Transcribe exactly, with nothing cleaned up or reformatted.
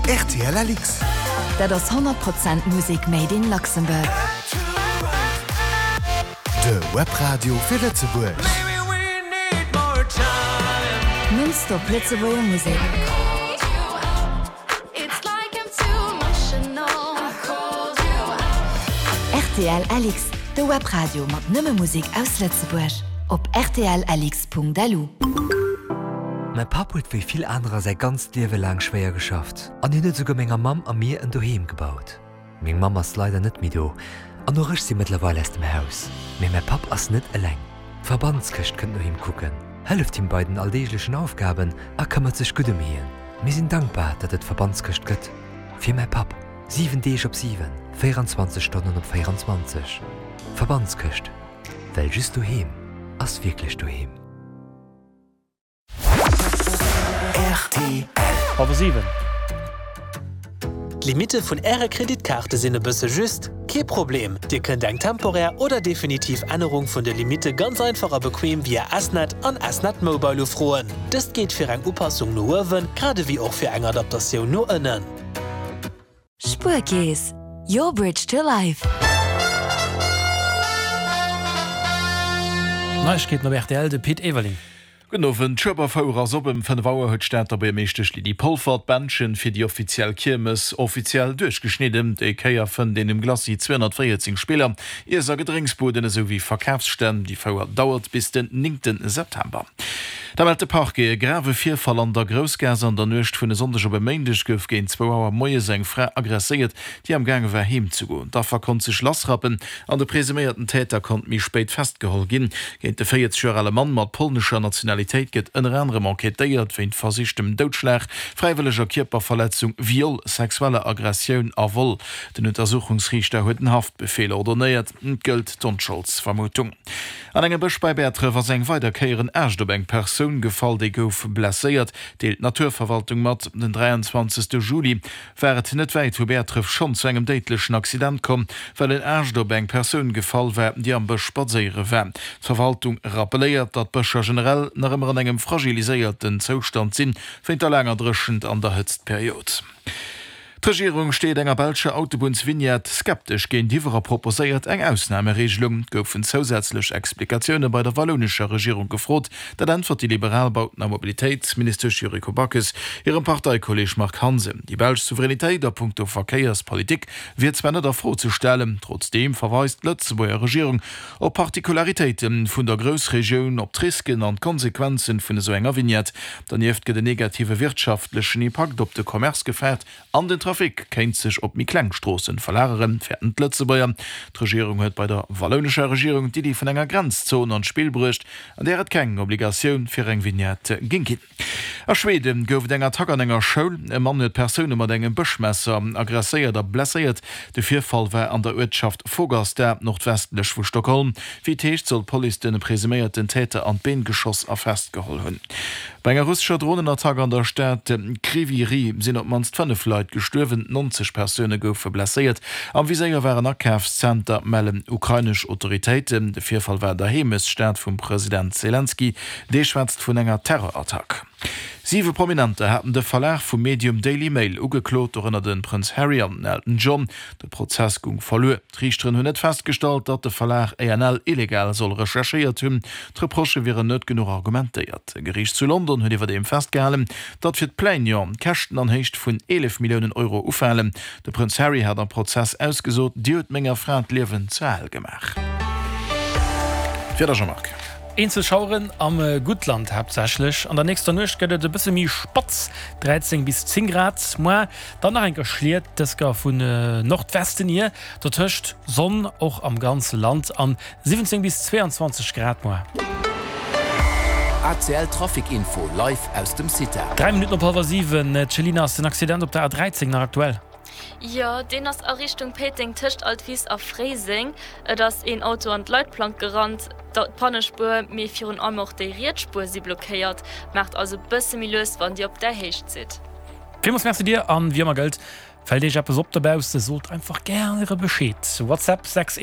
R T L L X. Dat ass honnert Prozent Musek made in Luxembourg. De Webradio fir Lëtzebuerg. Non-stop Lëtzebuerger Musek. It's like I'm too emotional. I called you R T L L X, de Webradio mat nëmme Musek aus Lëtzebuerg. Op R T L L X Punkt L U. Mäi Papp huet wéi vill anerer säi ganzt Liewe laang schwéier geschafft. An hien huet souguer menger Mamm a mir en Doheem gebaut. Meng Mamm ass leider net méi do. An och ech si mëttlerweil aus dem Haus. Mee mäi Papp ass net eleng. D'Verbandskëscht kënnt no him kucken, hëlleft him bei den alldeeglechen Aufgaben a këmmert sech gutt ëm hien. Mir sinn dankbar, datt et d'Verbandskëscht gëtt. Fir mäi Papp. Siwen Deeg op siwen, véierenzwanzeg Stonnen op véierenzwanzeg. Verbandskëscht. Well just doheem ass wierklech doheem. R T L. Hallwer siwen. D'Limitte vun Äre Kreditkaarte sinn e bësse just? Kee Problem! Dir kënnt eng temporär oder definitiv Ännerung vun de Limitte ganz einfach a bequem via S-Net an S-Net Mobile ufroen. Dëst geet fir eng Upassung no uewen, grad ewéi och fir eng Adaptatioun no ënnen. Spuerkeess. Your bridge to life. Neiegkeeten op R T L, de Pit Everling. Gudden Owend. D'Schueberfouer ass op. Ëm fënnef Auer huet d'Stater Buergermeeschtesch Lydie Polfer d'Bändchen fir déi offiziell Kiermes offiziell duerchgeschnidden. Déi Kéier fënnt een um Glacis zweehonnertvéierzéng Spiller, Iess a Gedrénksbuden esou wéi Verkafsstänn. Déi Fouer dauert bis den néngte September. Da mellt de Parquet e grave Virfall an der Groussgaass. An der Nuecht vun e Sonndeg op e Méindeg gouf géint zwou Auer moies eng Fra aggresséiert, déi am gaange war heem ze goen. D'Affer konnt sech lassrappen an de presuméierten Täter konnt méi spéit festgeholl ginn. Géint de véierzeg Joer ale Mann mat polnescher Nationalitéit gëtt ënner anerem enquêtéiert wéint versichtem Doudschlag, fräiwëlleger Kierperverletzung, Viol, sexueller Aggressioun a Vol. Den Untersuchungsriichter huet en Haftbefeel ordonéiert. Et gëllt d'Onscholdsvermutung. An engem Bësch bei Bäertref ass eng weider Kéier en Aascht op eng Persoun gefall, déi gouf blesséiert, deelt d'Naturverwaltung mat. Den dräianzwanzegste Juli war et net wäit vu Bäertref schonn zu engem déidlechen Accident komm, well en Aascht op eng Persoun gefall war, déi am Bësch spadséiere war. D'Verwaltung rappelléiert, datt d'Bëscher generell nach ëmmer an engem fragiliséierten Zoustand sinn, wéint der laanger Dréchent an der Hëtztperiod. D'Regierung steet enger belscher Autobunnsvignette skeptesch géintiwwer a proposéiert eng Ausnamereegelung. Et goufen zousätzlech Explikatioune bei der wallounescher Regierung gefrot. Dat äntwert déi liberal Bauten a Mobilitéitsministesch Yuriko Backes hirem Parteikolleeg Marc Hansen. Déi belsch Souveränitéit a punkto Verkéierspolitik wier zwar net a Fro ze stellen, trotzdeem verweist d'Lëtzebuerger Regierung op Particularitéite vun der Groussregioun, op d'Risken an d'Konsequenzen vun esou enger Vignette. Dernieft gëtt en negative wirtschaftlechen Impakt op de Commerce gefaart an den Trafic kéint sech op méi kleng Stroossen verlageren, fäerten d'Lëtzebuerger. D'Regierung huet bei der wallounescher Regierung d'Iddi vun enger Grenzzon an d'Spill bruecht, an där et keng Obligatioun fir eng Vignette géing ginn. A Schweden gouf et eng Attack an enger Schoul. E Mann huet Persoune mat engem Bëschmesser aggresséiert a blesséiert. De Virfall war an der Uertschaft Fagersta, nordwestlech vu Stockholm. Wéi et heescht, soll d'Police de presuméierten Täter an d'Been geschoss a festgeholl hunn. Bei enger russescher Dronenattack an der Stad Kryvyi Rih sinn op d'mannst fënnef Leit gestuerwen, nonzeg Persoune goufe blesséiert. Am Viséier war en Akafszenter, mellen ukrainesch Autoritéiten. De Virfall war an der Heemechtsstad vum President Selenskyj, dee schwätzt vun enger Terrorattack. Siwe Prominenter haten de Verlag vum Medium Daily Mail ugeklot, dorënner de Prënz Harry an den Elton John. De Prozess goung verluer. D'Riichteren hunn net festgestallt, datt de Verlag A N L illegal soll recherchéiert hunn. D'Reprochë wieren net genuch argumentéiert. E Geriicht zu London huet iwwerdeem festgehalen, datt fir d'Plaignant Käschten an Héicht vun eelef Milliounen Euro ufalen. De Prënz Harry hat am Prozess ausgesot, Dir hutt menger Fra d'Liewen zur Hell gemaach. D'Wieder, Jean-Marc. Eenzel Schaueren am Guttland haaptsächlech. An der nächster Nuecht gëtt et e bësse méi spatz, dräizéng bis zéng Grad. Muer dann nach eng Kéier Schliet, dës Kéier vun Nordwesten hier, dotëscht Sonn och am ganze Land an siwwenzéng bis zweeanzwanzeg Grad muer. A C L Trafic Info live aus dem CITA. Dräi Minutten op hallwer siwen, Céline, ass den Accident op der A dräizéng nach aktuell? Jo, deen ass a Richtung Péiteng tëscht Altwis a Fréiseng. Et ass een Auto an d'Leitplank gerannt. D'Pannespuer, mee virun allem och déi riets Spuer si blockéiert. Maacht also bësse méi lues, wann Dir op där Héicht sidd. Villmools Merci dir an wéi ëmmer gëllt, fält iech eppes op dobausse, sot einfach gär Bescheed. WhatsApp sechs